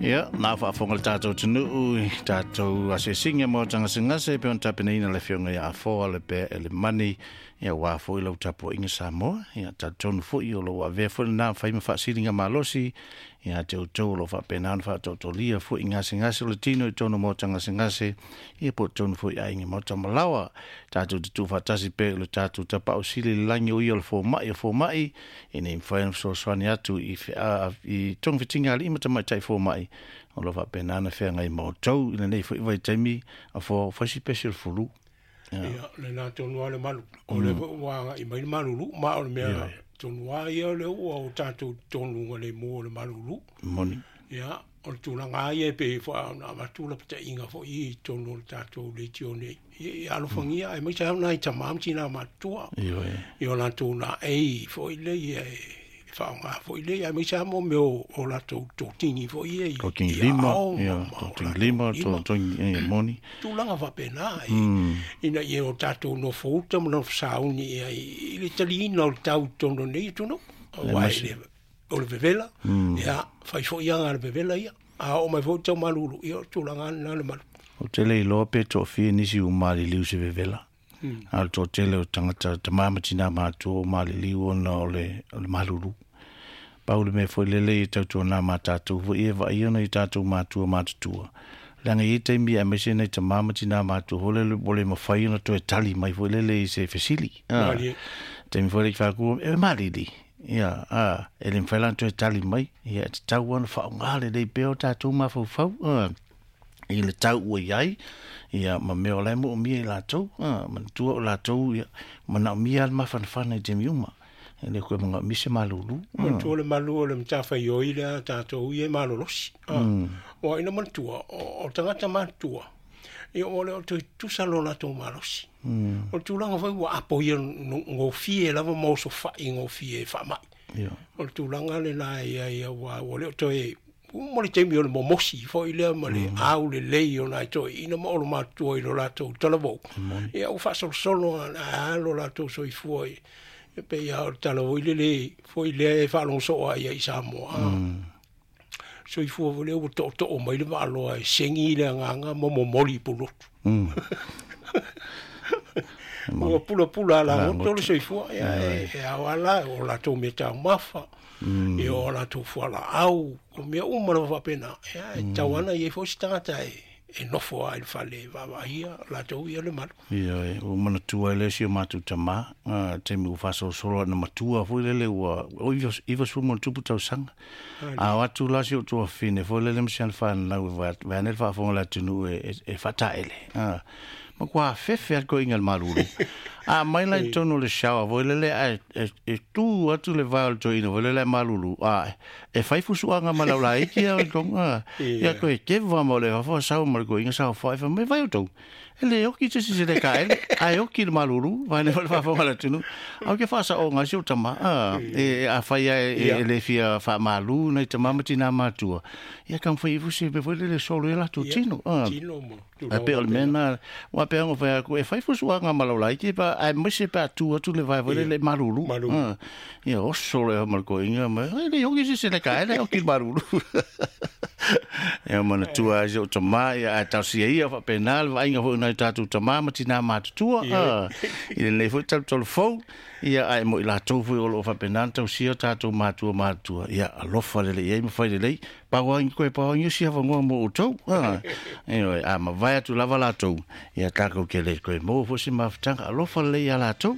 Ia, na faafofoga le tatou atunuu i tatou asiasiga ma tagasigase e pei ona tapenaina le afioga ia Afoa le Pea Elemani, ia aua foi lau tapuaiga Samoa. Ia talitonu foi o lou avea foi lena fai ma faasiliga malosi ia te outou o lo o faapena ona faataotolia foi i gasegase o le tino i totonu o maota gasegase, ia po o totonu foi i aiga maota malaoa. Tatou te tuufaatasi pea i le tatou Tapaau Sili i le lagi o ia o le fomai o fomai, ina ia mafai ona fesoasoani atu i i togafitiga a alii ma tamaitai fomai o lo o faapena ona feagai ma outou i lenei foi vaitaimi a fai si pesi o le fulu. Ia, lena tonu lava le malu. O lea foi ua agai mai le malulu, ma o le mea tonu lava ia o lea ua o tatou totonu le mu o le malulu. Moni. Ia, o le tulaga lava ia e pei foi ona avatu lapataiga foi i totonu o le tatou leitio nei. Ia alofagia, aemaise lava nai tama ma tina matutua. I o latou laei foi lea e faaaoga foi lea, aemaise lava mo mea o latou totini foi ia i Totini lima, ia, totini lima, totini, moni. Tulaga faapena, ina ia o tatou nofouta ma nofo sauni ia i le taliina o le tau i totonu o lenei atunuu. Aua o le vevela, ia, fai foi aga a le vevela ia. A oo mai foi le tau malulu, ia o le tulaga lena le malu. Ou te le iloa pe toafia nisi ua maliliu i se vevela. A o le toatele o tagata tama ma tina matutua ua maliliu ona o le malulu. Pau le mea foi lele e tautuana ma tatou foi e vaaia nai tatou matua matutua. Leaga e i ai taimi aemaise nai tama ma tina matutua foi lele ua le mafai ona toe tali mai foi lele i se fesili. Taimi foi lele i faaku, e malili. Ia, e le mafai la ona toe tali mai. Ia, e tatau ona faaaoga lelei pea o tatou mafaufau i le tau ua i ai, ia, ma mea o la e moomia i latou. Manatua o latou, ia, manaomia le mafanafana i taimi uma. E le koe manaomia se malulu. Manatua le malu o le matafaioi lea a tatou ia e malolosi. Ua ina manatua, o tagata matutua, ia ua le o toe tutusa lo latou malosi. O le tulaga foi ua apo ia gofie lava ma osofai gofie e faamai. O le tulaga lena e i ai, ua le o toe uma le taimi o le momosi foi lea ma le au lelei o nai toeaiina ma olomatua i lo latou talavou. Ia ua faasolosolo a lo latou soifua e pei lava o le tala foi lele foi lea e faalogo soo ai i Samoa. Soifua foi lea ua tootoo mai le vaaloa e segi le agaga ma momoli i Pulotu. Ua pulapula alagoto le soifua, ia, e ao ala o latou mea taumafa, ia o latou fualaau, o mea uma lava faapena. Ia, e tatau ana i ai foi se tagata e nofo lava i le fale e vaavaaia latou ia le malu. Ia, ua manatua ai le si o matou tama, taimi ua faasolosolo ana matua foi lele ua 90 ma tupu tausaga. A o atu la si o tuafafine foi lele ma si ana fanau e vaeane le faafofoga o le atunuu e faataele. Matua afefe lava le toeaina i le malulu. A mai la i totonu o le shower foi lele ae e tu atu le vae o le toeaina foi lele ae malulu. E fai fusuaga ma le aulaiti ia i totonu. Ia toe keva ma o le fafo sau ma le toeaina saofai fai mai vai outou. E le oki se isi se le kaele, ae oki le malulu, vaeane foi le faafofoga a le atunuu. Ae ou te faasaoga ai si ou tama, e afai lava e le fia faamalu nai tama ma tina matua, ia taumafai ifo se mea foi lele e solo ai latou tino. Ae pei o le mea lena, aua pei ona fai atu, e fai fusuaga ma lau laiti, aemaise pe a tu atu le vae foi lele e malulu. Ia oso loa ma le toeaina, ma e le oki se isi le kaele, ae oki le malulu. Ia manatua ai si ou tama, ia ae talosia ia faapena le vaaiga foi o nai tatou tama ma tina matutua i lenei foi talutalu fou, ia ae mo i latou foi o lo o faapena ona tausia o tatou matua matutua, ia alofa lelei i ai ma fai lelei, pau lava toe pau lava si avanoa mo outou. Ioe, a mavae atu lava latou, ia tatou te le toe maua foi se mafutaga, alofa lelei ia latou.